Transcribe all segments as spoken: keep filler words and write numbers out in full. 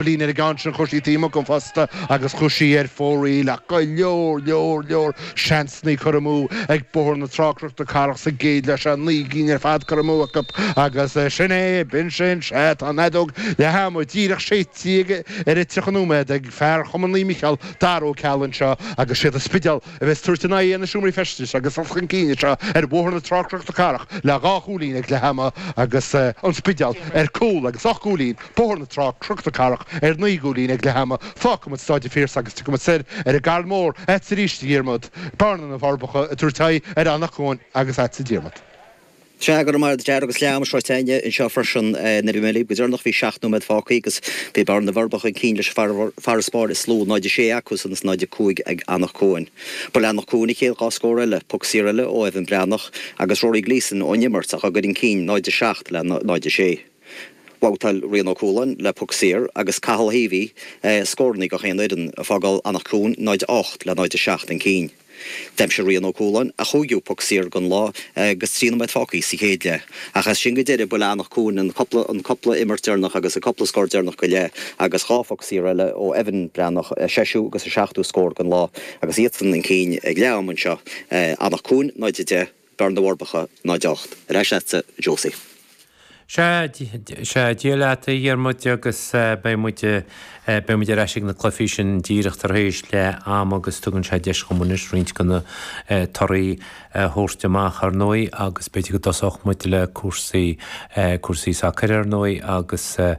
Bliain ar an gceann sin chuir sí taobh amuigh den phosta agus chuaigh sí ar fóraoil ach go leor leor leor seansanna curtha amú ag Bóthar na Trá Cnoc na Cathrach sa gcéad leath seo, naoi gcinn ar fad curtha amú acu agus sin é, b'in sin, sea, tá an fheadóg leath ama díreach séidte ar an tríocha nóiméad ag fear Chumann Naomh Mícheál, Dara Ó Ceallaigh anseo agus siad an Spidéal a bheas ag tabhairt a n-aghaidh ar na Seomraí Feistis agus dul chun cinn anseo ar Bhóthar na Trá Cnoc na Cathrach le dhá chúilín ag leath ama agus an Spidéal ar cúl agus ocht gcúilín, Bóthar na Trá, Cnoc na Cathrach ar naoi gcúilín ag leath ama. Fágfaimid Stáid an Phiarsaigh agus tiocfaimid soir ar an gCarn Mór agatsa arís, a Dhiarmaid. Bearna na bhForbacha ag tabhairt aghaidh ar Anach Cuain agus agatsa a Dhiarmaid. Sea, go raibh maith agat a Dhara agus leath ama sroichte againne anseo freisin. Nuair a bhí mé libh go deireanach bhí seacht nóiméad fágtha agus bhí Bearna na bhForbacha chun cinn leis an farasbarr is lú, náid a sé acusan is náid a cúig ag Anach Cuain. Ba le Anach Cuain an chéad dhá scór eile, poc saor eile ó Evan Breathnach agus Rory Gleeson ón imirt ach á gcur chun cinn náid a seacht le náid a sé. Bhabhtáil Rian Ó Cualáin le poc saor agus Cathal Heavey scóranna gach aon fhoireann, ag fágáil Anach Cuain náid a ocht le náid a seacht chun cinn. D'aimsigh Rian Ó Cualáin a chúigiú poc saor den lá agus trí nóiméad fágtha sa chéad leath. Ach as sin go deireadh ba le Anach Cuain an cúpla an cúpla imirt deireanach agus an cúpla scór deireanach go leath agus dhá phoc saor eile ó Evan Breathnach, a seisiú agus a seachtú scór den lá agus iadsan chun cinn ag leath ama anseo. Anach Cuain náid a deich, Bearna na bhForbacha náid a ocht. Ar ais leatsa, Josie. Sea, sea, Dia leat a Dhiarmuid agus beidh muid, beidh muid ar ais ag na cluichí sin díreach tar éis leath ama agus tugann sé deis dhom anois roinnt de na torthaí a thabhairt amach ar ndóigh agus b'fhéidir go dtosódh muid le cúrsaí, cúrsaí sacair ar ndóigh agus tá,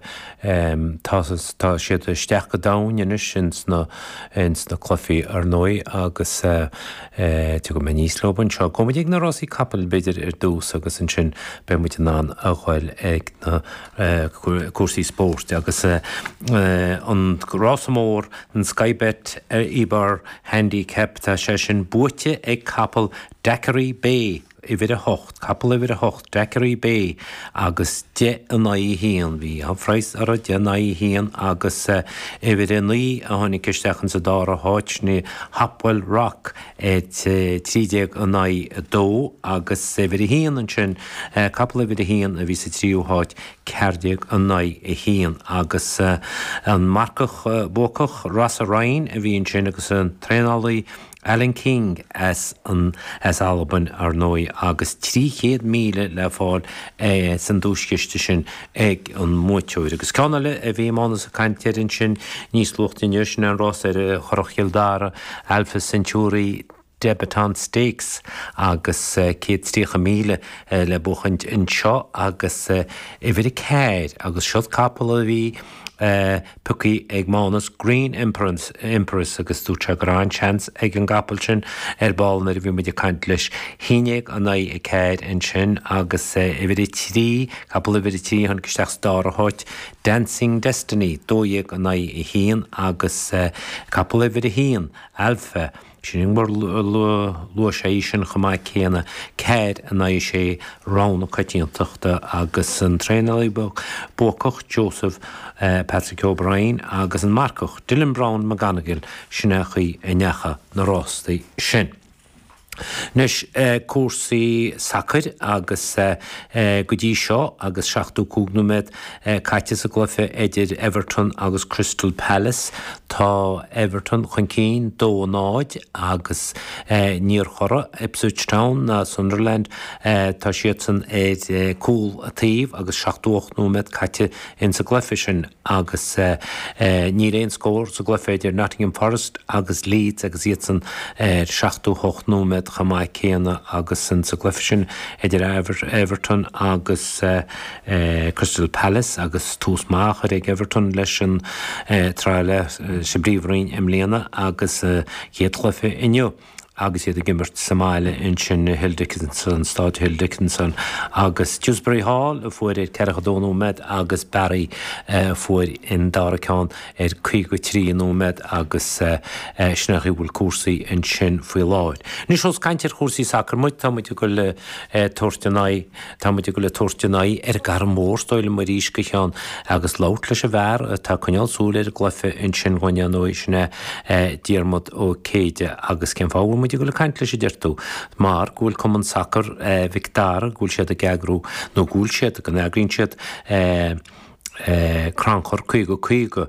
tá siad isteach go domhain anois ins na, ins na cluichí ar ndóigh agus tiocfaidh mé aníos leo anseo. Gabhfaidh muid ag na rásaí capaill b'fhéidir ar dtús agus ansin beidh muid in ann a ghoil ag na cúrsaí spóirt agus an rása mór, an Sky Bet Ebor Handicap, tá sé sin buaite ag capall Daiquiri Bay. Uimhir a hocht, capall uimhir a hocht, Daiquiri Bay agus deich in aghaidh a haon. Bhí an-phraghas orthu, deich in aghaidh a haon agus uimhir a naoi a tháinig isteach insa dara háit, sin é Hopewell Rock ar trí déag in aghaidh a dó agus uimhir a haon ansin, capall uimhir a haon a bhí sa tríú háit, ceathair déag in aghaidh a haon agus an marcach buacach Rossa Ryan a bhí ansin agus an traenálaí Alan King as an as Albain ar ndóigh agus trí chéad míle le fáil san duaischiste sin ag an mbuaiteoir. Agus ceann eile a bhí Mánas ag caint air ansin níos luaithe inniu, sin an rás ar Churrach Chill Dara, Alpha Centauri Debutante Stakes agus céad tríocha míle le buachaint anseo agus uimhir a ceathair agus siod capall a bhí pioctha ag Mánas, Green Empress agus dúirt sé go raibh an-seans ag an gcapall sin ar ball nuair a bhí muid ag caint leis. Haon déag in aghaidh a ceathair ansin agus uimhir a trí, capall uimhir a trí a tháinig isteach sa dara háit, Dancing Destiny, dó dhéag in aghaidh a haon agus capall uimhir a haon, Alpha, Sin mar luaigh sé í sin chomh maith céanna, ceathair in aghaidh a sé, rogha na coitiantachta agus an traenálaí buacach Joseph Patrick O'Brien agus an marcach Dylan Browne McGonigle, sin é an chaoi a ndeachaigh na rástaí sin. Anois, cúrsaí sacair agus go dtí seo agus seachtó cúig nóiméad caite sa gcluiche idir Everton agus Crystal Palace, tá Everton chun cinn dó a náid agus níor chorraigh Ipswich Town ná Sunderland, tá siadsan ar cúl an taobh agus seachtó ocht nóiméad caite insa gcluiche sin agus níl aon scór sa gcluiche idir Nottingham Forest agus Leeds agus iadsan ar seachtó hocht nóiméad chomh maith céanna agus insa gcluiche sin idir Everton agus Crystal Palace agus tús maith á chur ag Everton leis an tsraith sa bPríomhroinn i mbliana agus chéad chluiche inniu agus iad ag imirt sa mbaile ansin i Hill Dickinson, Stáid Hill Dickinson agus Dewsbury Hall a fuair ar ceathracha dó nóiméad agus Barry a fuair an dara ceann ar caoga trí nóiméad agus sin é an chaoi a bhfuil cúrsaí ansin faoi láthair. Anois ós caint ar chúrsaí sacair muid, tá muid ag dul ag tabhairt an aghaidh, tá muid ag dul ag tabhairt an aghaidh ar an gCarn Mór, is dóigh liom arís go cheann agus labhairt leis an bhfear atá ag coinneáil súil ar an gcluiche ansin dhúinn ar ndóigh, sin é Diarmuid Ó Céide agus cén fáth a bhfuil muid ag dul ag caint leis a deir tú? Mar go bhfuil Cumann Sacair Mhic Dara, go bhfuil siad ag eagrú, nó go bhfuil siad, go n-eagraíonn siad, Crannchur caoga caoga le